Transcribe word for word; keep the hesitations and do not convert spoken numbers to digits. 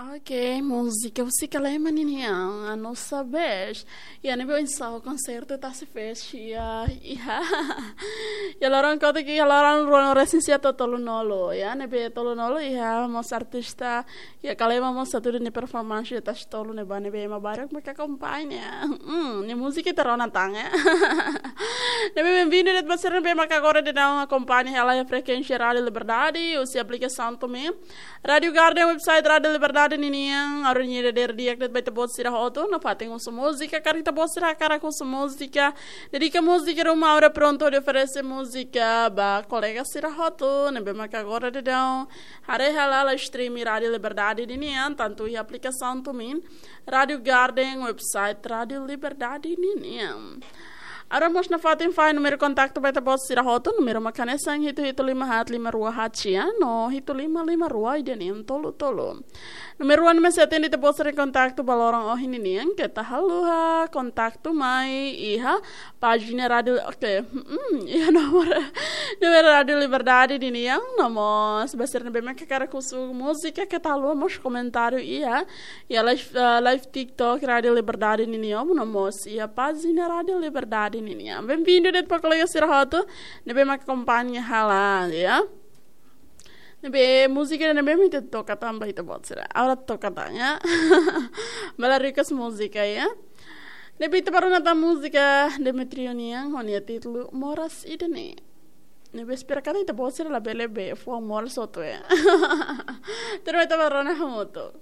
Ok, múzika husik Kalema ninian, a nossa vez. Iha ne'ebé oinsá konsertu Tasi Fest, iha, iha. Iha loron kotuk iha loron ruanulu-resin-sia to'o tolunulu, iha ne'ebé tolunulu iha mós artista, iha Kalema mós atu halo nia performance iha Tasi Tolu ne'ebá ne'ebé ema barak mak akompaña. Hmm, nia múzika ita rona tan, iha. Ne'ebé bem-vindo de'it ba sira ne'ebé mak agora daudaun akompaña hela iha frekuénsia Rádio Liberdade, husi aplikasaun Tumin. Rádio Garden, website Rádio Liberdade ninian, agora nia dadeer di'ak de'it ba ita-boot sira hotu, nafatin husu múzika, karik ita-boot sira hakarak husu múzika, dedika múzika ruma, agora prontu hodi oferese múzika ba kolega sira hotu ne'ebé mak agora daudaun haree hela live stream Rádio Liberdade ninian, tantu iha aplikasaun Tumin, Rádio Garden, website Rádio Liberdade ninian. Agora mós nafatin fahe númeru kontaktu ba ita-boot sira hotu, númeru mak hanesan hitu hitu lima haat lima rua haat sia, no hitu lima lima rua ida neen tolu tolu. Númeru ida ne'ebé sei atende ita-boot sira-nia kontaktu ba loron ohin ninian, keta haluha kontaktu mai iha pájina rádio, ok, hmm, iha nomor, nomor Rádio Liberdade ninian, no mós ba sira ne'ebé mak hakarak husu múzika, keta haluha mós komentáriu iha, iha live, eh, live TikTok Rádio Liberdade ninian, no mós iha pájina Rádio Liberdade ninian. Bem-vindo de'it ba kolega sira hotu ne'ebé mak akompaña hela, iha. Ne'ebé múzika ne'ebé mak ita toka tan ba ita-boot sira. Agora toka tan, iha. Bele request múzika, iha. Ne'ebé ita bá rona tan múzika Demetrio nian, ho nia títulu Moras Ida-ne'e. Ne'ebé espera katak ita-boot sira labele bee fuan moras hotu, iha. Terus ita bá rona hamutuk.